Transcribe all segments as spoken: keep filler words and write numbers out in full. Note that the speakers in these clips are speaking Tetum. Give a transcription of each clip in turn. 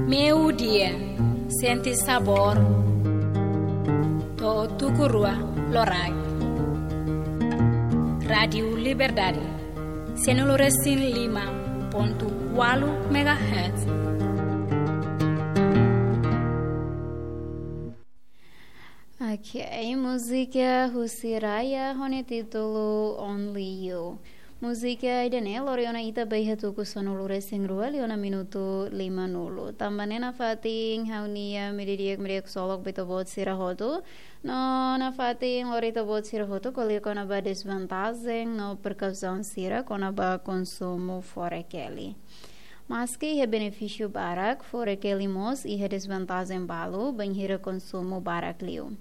Meiudia, sente sabór. To'o tuku rua loraik. Rádiu Liberdade, sanulu-resin-lima pontu ualu megahertz. Ok, múzika husi Raya ho nia títulu Only You. Múzika ida-ne'e lori ona ita ba iha tuku sanulu-resin-rua liu ona minutu lima-nulu. Tanba ne'e nafatin ha'u-nia meiudia di'ak, meiudia ksolok ba ita-boot sira hotu. No nafatin lori ita-boot sira hotu ko'alia kona-ba desvantajen no prekausaun sira kona-ba konsumu fore-keli. Maski iha benefísiu barak, fore-keli mós iha desvantajen balu bainhira konsumu barak liu.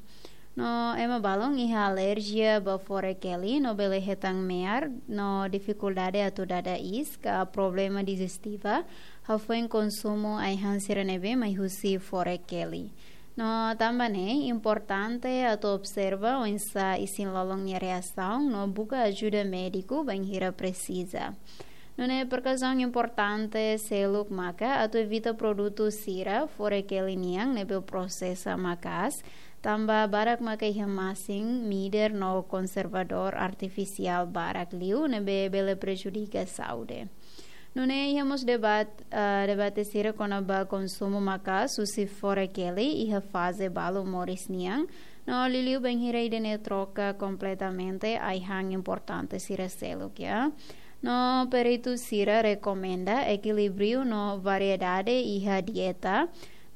No ema balun iha alerjia ba fore-keli no bele hetan me'ar no difikuldade atu dada iis ka problema dijestiva hafoin konsumu ai-han sira ne'ebé mai husi fore-keli. No tanba ne'e importante atu observa oinsá isin-lolon nia reasaun no buka ajuda médiku bainhira presiza. Nune'e prekausaun importante seluk maka atu evita produtu sira fore-keli nian ne'ebé prosesa maka'as, tanba barak maka iha masin, midar no konservadór artifisiál barak liu ne'ebé bele prejudika saúde. Nune'e iha mós debat-, ah, debate sira kona-ba konsumu maka'as husi fore-keli iha faze balu moris nian, no liuliu bainhira ida-ne'e troka kompletamente ai-han importante sira seluk, ya. No peritu sira rekomenda ekilíbriu no variedade iha dieta.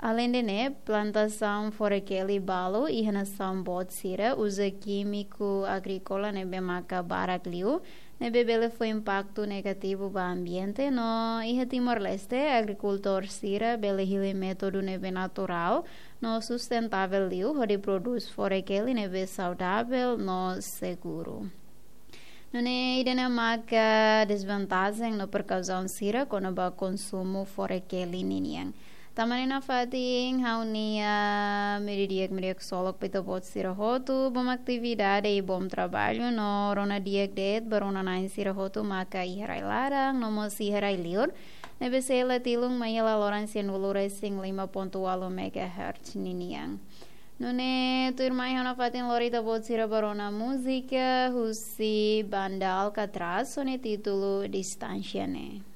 Aleinde ne'e, plantasaun fore-keli balu iha nasaun boot sira uza kímiku agríkola ne'ebé maka barak liu, ne'ebé bele fó impaktu negativu ba ambiente, no iha Timor-Leste agrikultór sira bele hili métodu ne'ebé naturál no sustentável liu hodi prodús fore-keli ne'ebé saudavel no seguru. Nune'e ida-ne'e maka desvantajen no prekausaun sira kona-ba konsumu fore-keli ninian. Tanba ne'e nafatin ha'u-nia meiudia di'ak, meiudia ksolok ba ita-boot sira hotu, bom atividade i bom traballu, no rona di'ak de'it ba rona-na'in sira hotu maka iha rai laran no mós iha rai liur ne'ebé sei la tilun mai iha laloran sanulu-resin-lima pontu ualu megahertz ninian. Nune'e tuirmai ha'u nafatin lori ita-boot sira ba rona múzika husi Banda Alcatraz ho nia títulu Distánsia Ne'e.